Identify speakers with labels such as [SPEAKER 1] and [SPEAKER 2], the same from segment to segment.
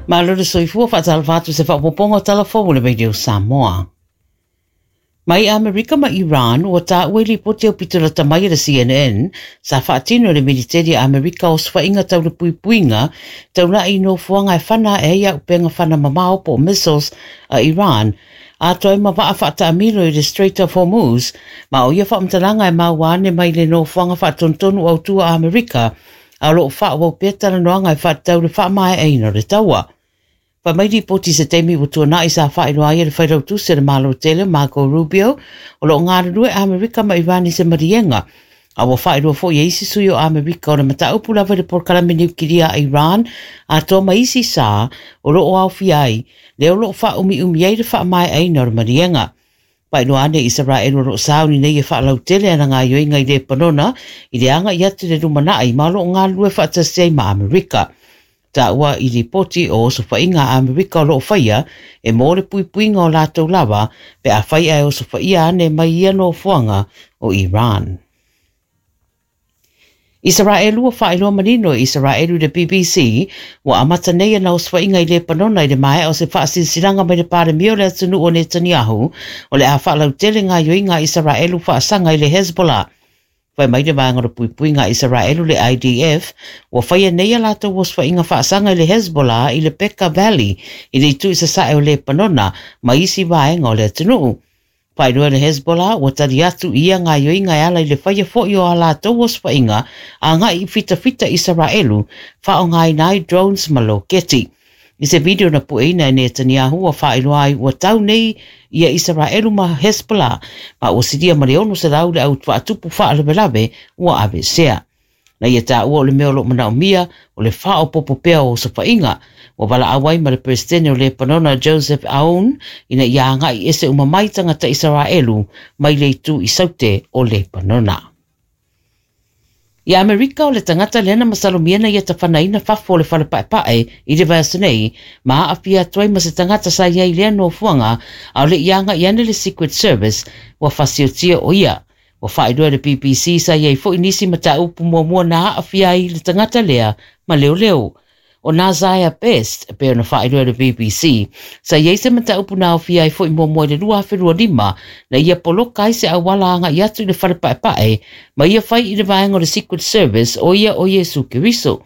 [SPEAKER 1] Malo le soifua faatalofa atu se faaopoopoga o tala fou o le Radio Samoa. Mai Amerika ma Iran, ua taua i lipoti aupito lata mai a le CNN, sa faatino e le militeli a Amerika osofaiga tau le puipuiga taulai i nofoaga e fana ae ai auupega fana mamao po o missiles a Iran, atoa ai ma vaa faataamilo i le Strait of Hormuz, ma o ia faamatalaga e maua ane mai le nofoaga faatonutonu autu a Amerika, a o lo o faaauau pea talanoaga e faatatau i le faamaeaina o le taua. Fai mai lipoti i se taimi ua tuanai sa faailoa ai e le Failautusi a le Malo Tele, Marco Rubio, o lo o galulue Amerika ma Iran i se maliega, a ua faailoa foi e isi sui o Amerika o le mataupu lava i le polokalame niukilia a Iran atoa ma isi sa o lo o aofia ai lea o lo o faaumiumi ai le faamaeaina o le maliega. Faailoa ane i Isaraelu o lo o sauni nei e faalautele ana gaoioiga i Lepanona i le agai atu i le lumanai ma o lo o galulue faatasi ai ma Amerika. Taua i lipoti o osofaiga a Amerika o lo o faia e mo le puipuiga o latou lava pe afai ae osofaia ane mai ia nofoaga o Iran. Isaraelu ua faailoa manino e Isaraelu i le BBC ua amata nei ana osofaiga i Lepanona i le maea o se faasilasilaga mai le Palemia o le atunuu o Netanyahu o le a faalautele gaoioiga a Isaraelu faasaga i le Hezbollah. Fai mai le vaega o le puipuiga a Isaraelu le IDF ua faia nei a latou osofaiga faasaga i le Hezbollah i le Bekaa Valley i le itu i sasae o Lepanona ma isi vaega o le atunuu. Faailoa e le Hezbollah ua tali atu i ia gaoioiga e ala i le faia foi o a latou osofaiga agai i fitafita Isaraelu faaaogaina ai drones ma loketi. I se video na pueina e Netanyahu ua faailoa ai ua tau nei ia Isaraelu ma Hezbollah ma ua silia ma le 600 le au faatupu faalavelave ua aveesea. Na ia taua o le mea o lo o manaomia o le faaopoopo pea o osofaiga. Ua valaau ai ma le Peresetene o Lepanona Joseph Aoun ina ia agai ese uma mai tagata Isaraelu mai le itu i saute o Lepanona. I Amerika o le tagata lea na masalomia na ia tafanaina fafo o le fale paepae i le vaiaso nei ma aafia atu ai ma se tagata sa i ai i lea nofoaga a o le i agai ane le Secret Service ua fasiotia o ia. Ua faailoa e le BBC sa i ai foi nisi mataupu muamua na aafia ai le tagata lea ma leoleo. O Naziah Best, e pei ona faailoa e le BBC, sa i ai se mataupu na aofia ai foi muamua i le 2025 na ia poloka ai se auala agai atu i le fale paepae ma ia fai i le vaega o le Secret Service o ia o Iesu Keriso.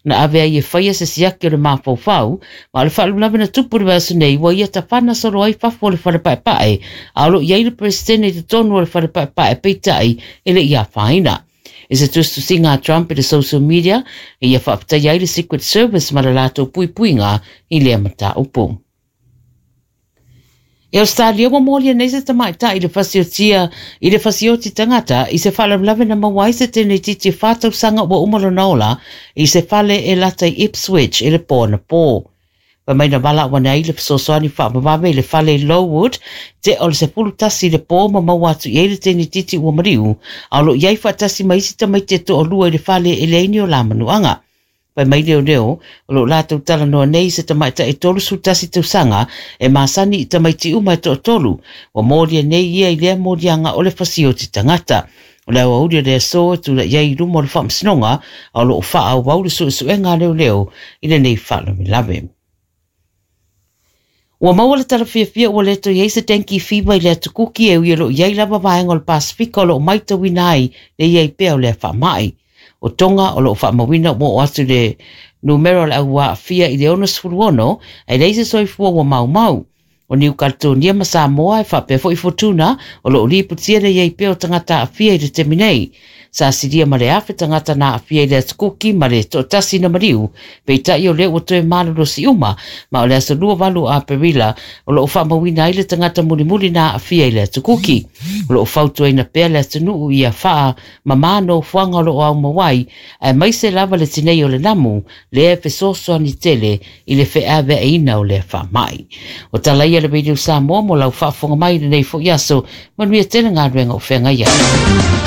[SPEAKER 1] Na ave ai e faia se siaki o le mafaufau, ma o le faalavelave na tupu i le vaiaso nei ua ia tafana solo ai fafo o le fale paepae, a o lo o i ai le Peresetene i totonu o le fale paepae peitai e le i afaina. I se tusitusiga a Trump i le social media, e ia faafetaia ai le Secret Service ma le latou puipuiga i lea mataupu. I Australia ua molia nei se tamaitai i le fasiotia i le fasioti tagata i se faalavelave na maua ai se tene-itiiti e 4 tausaga ua uma lona ola i se fale e lata i Ipswich i le po anapo. Fai mai na valaau ane ai le fesoasoani faavavave i le fale i Lowood tea o le 11 i le po ma maua atu i ai le tene-itiiti ua maliu a o lo o i ai faatasi ma isi tamaiti e toalua i le fale e leai ni o la manuaga. Fai mai leoleo, o lo o latou talanoa nei i se tamaitai 31 tausaga e masani i tamaiti uma e toatolu. Ua molia nei ia i lea moliaga o le fasioti tagata. O le aoauli o le aso e tulai ai i luma o le faamasinoga, a o lo o faaauau le suesuega a leoleo i lenei faalavelave. Ua maua le tala fiafia ua le toe i ai se dengue fever i le atu Kuki e ui o lo o i ai lava vaega o le Pasefika o lo o maitauina ai le i ai pea o lea faamai. O Tonga o lo o faamauina ua oo atu le numera o le au aafia i le 66, ae leai se soifua ua maumau. O Niu Kaletonia ma Samoa e faapea foi Futuna o lo o lipotia le i ai pea o tagata aafia i le taimi nei. Sa silia ma le 1,000 tagata na aafia i le atu Kuki ma le toatasi na maliu, peitai o lea ua toe malolosi uma, ma o le aso 28 o Aperila o lo o faamauina ai le tagata mulimuli na aafia i le atu Kuki. O lo o fautuaina pea le atunuu ia faamama nofoaga o lo o aumau ai, aemaise lava le tinei o le namu, lea e fesoasoani tele i le feaveaiina o lea faamai. O tala ia a le Radio Samoa mo lau faafofoga mai i lenei foi aso, manuia tele galuega o feagai ai.